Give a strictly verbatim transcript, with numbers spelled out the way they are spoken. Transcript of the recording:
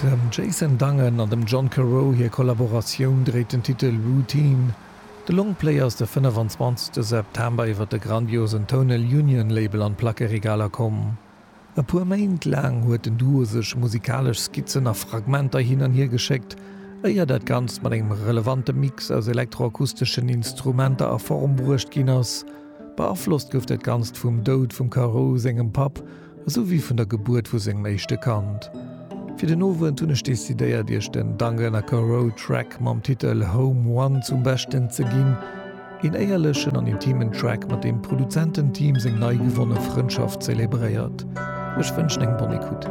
Dem Jason Dungan an dem John Carew hir Kollaboratioun dréit den Titel Routine. De Longplay ass de fënnefenzwanzegste September iwwer de grandiosen Tonal Union Label an d'Plackeregaler komm. E puer Méint laang huet den Duo sech musikalesch Skizzen a Fragmenter hin an hier geschéckt, éier dat Ganzt mat engem relevante Mix aus elektroakusteschen Instrumenter a Form bruecht ginn ass. Beaflosst gouf dat Ganzt vum Doud vum Carew sengem Papp, esou wéi vun der Gebuert vu sengem éischte Kand. Fir den Owend hunn ech decidéiert, iech den Dungan a Carew Track mam Titel Home One zum Beschten ze ginn, een éierlechen an intimen Track, mat deem d'Produzententeam seng nei gewonne Frëndschaft zelebréiert. Ech wënschen eng bonne écoute.